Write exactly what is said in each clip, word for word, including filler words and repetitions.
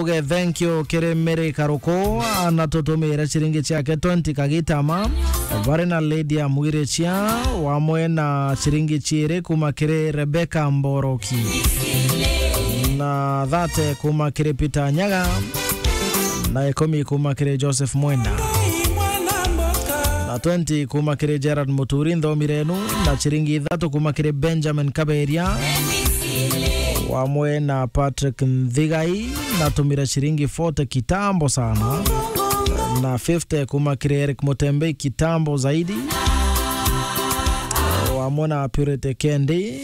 Uge thank you kiri Mary Karuku, na tutumire ciringi ciake twenty kagitama. Bari na Lydia Mwirichia, wamwe na ciringi ciiri kuma kiri Rebecca Mboroki, na thirty kuma kiri Peter Nyaga, na ikumi kuma kiri Joseph Mwenda, na twenty kuma kiri Gerard Muturi, nthomi renu, na ciringi ithatu kuma kiri Benjamin Kaberia, wamwe na Patrick Nthigai, natumire ciringi forty kitambo sana, na fifty kuma kiri Eric Mutembei kitambo zaidi, wamwe na Purity Kendi,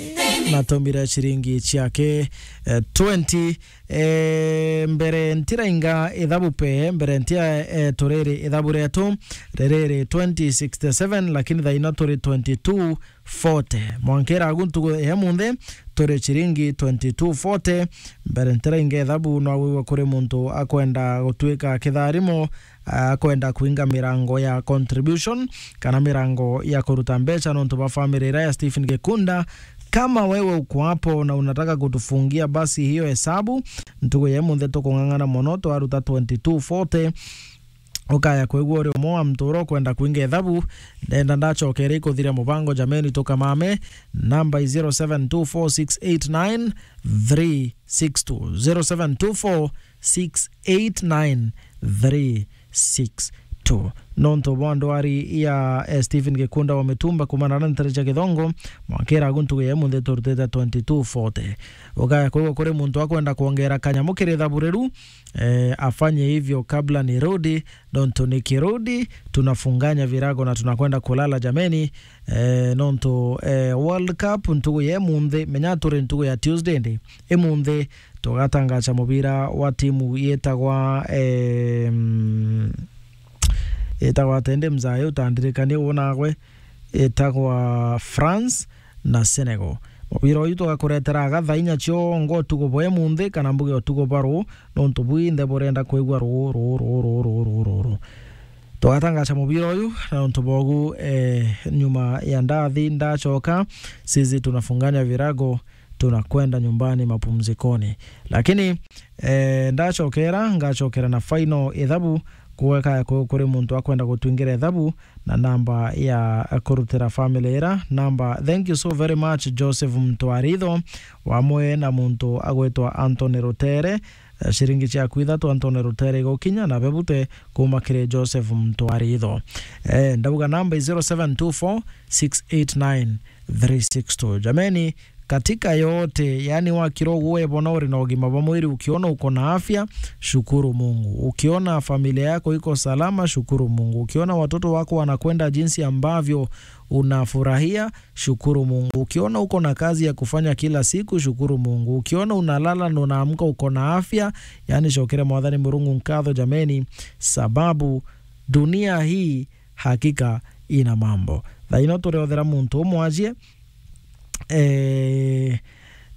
natumire ciringi ciake, eh, twenty. Eh, mbere ntirainga ithabu pe, mbere ntia, eh, turiri ithabu rietu, ririri twenty sixty-seven, lakini thaino turi twenty-two forty. Mwankira agu ntugu ya munthi, turi ciringi twenty-two forty. Mbere ntirainga ithabu, no wigua kuri muntu akwenda gutwika kitharimo, akwenda kuinga mirango ya contribution, kana mirango ya kuruta mbeca nontu bwa family iria ya Stephen Gikunda. Kama wewe uko hapo na unataka kutufungia basi hiyo hesabu, ntugu ya munthi tukung'ang'ana mono, twaruta twenty-two forty. Ukaya kwigua uri umwe wa mtuuro ukwenda kuinga ithabu, ndenda ndacokere ikuthiria mubango, jameni, tukamame. Namba i zero seven two four six eight nine three six two, zero seven two four six eight nine three six two. Nontu bwa ndwari ya, eh, Stephen Gikunda wa Mitumba kumana na ntere cia Githongo, mwankira agu ntugu ya munthi turutite twenty-two forty. Ukaya kwigua kuri muntu akwenda kwongera kanyamu kiri ithabu riru, eh, afanye hivyo kabla nirudi, nontu nikirudi, tunafunganya virago na tunakwenda kulala, jameni. Eh, nontu, eh, World Cup ntugu ya munthi, menya turi ntugu ya Tuesday ndi. Imunthi tugatangaca mubira wa timu yitagwa, em, yitagwa atende mzaya utandirikanie wonagwe, yitagwa France na Senegal. Mubira uyu tugakuretera aga thaa inya ciongo utuku bwa imunthi kana mbuge utuku bwa ruu, nontu bwinthe burenda kwigua ruu, ruu, ruu. Tugatangaca mubira uyu, na nontu bogu, eh, nyuma ya ndathi ndacoka, sisi tunafunganya virago, tunakwenda nyumbani mapumzikoni. Lakini, eh, ndacokera, ngacokera na final ithabu, kuga kaya ku-, kuri muntu akwenda gutwingira ithabu na namba ya kurutira family ira namba. Thank you so very much, Joseph Mtwaritho, wamwe na muntu agwitwa Anthony Rutere. Eh, ciringi ciaku ithatu, Anthony Rutere, igukinya na bebute kuma kiri Joseph Mtwaritho. Eh, ndauga namba i zero seven two four six eight nine three six two. Jameni, katika yote, yani wakira uguo webona uri na ugima bwa mwiri, ukiona uko na afya, shukuru Mungu. Ukiona familia yako iko salama, shukuru Mungu. Ukiona watoto wako wanakwenda jinsi ambavyo unafurahia, shukuru Mungu. Ukiona uko na kazi ya kufanya kila siku, shukuru Mungu. Ukiona unalala na unaamka uko na afya, yani cokere Mwathani Murungu nkatho, jameni, sababu dunia hii hakika ina mambo. Thaino turiothera muntu umwajie, eh,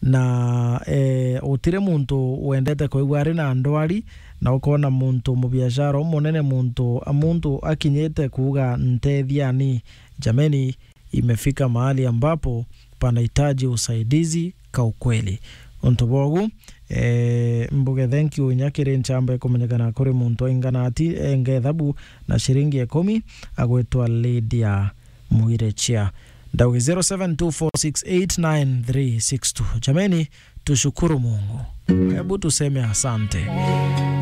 na, eh, utire muntu wendete kwigua ari na ndwari, na ukona muntu mubiashara umunene, muntu, muntu akinyite kuuga, "Ntethiani." Jameni, imefika mahali ambapo panahitaji usaidizi ka ukweli. Untu bogu, eh, mbuge thank you inya kiri nchamba ikumenyekana kuri muntu aingana ati, enge thabu na ciringi ikumi, agwitwa Lydia Mwirichia. Ndauge zero seven two four six eight nine three six two. Jameni, tushukuru Mungu. Hebu tuseme asante.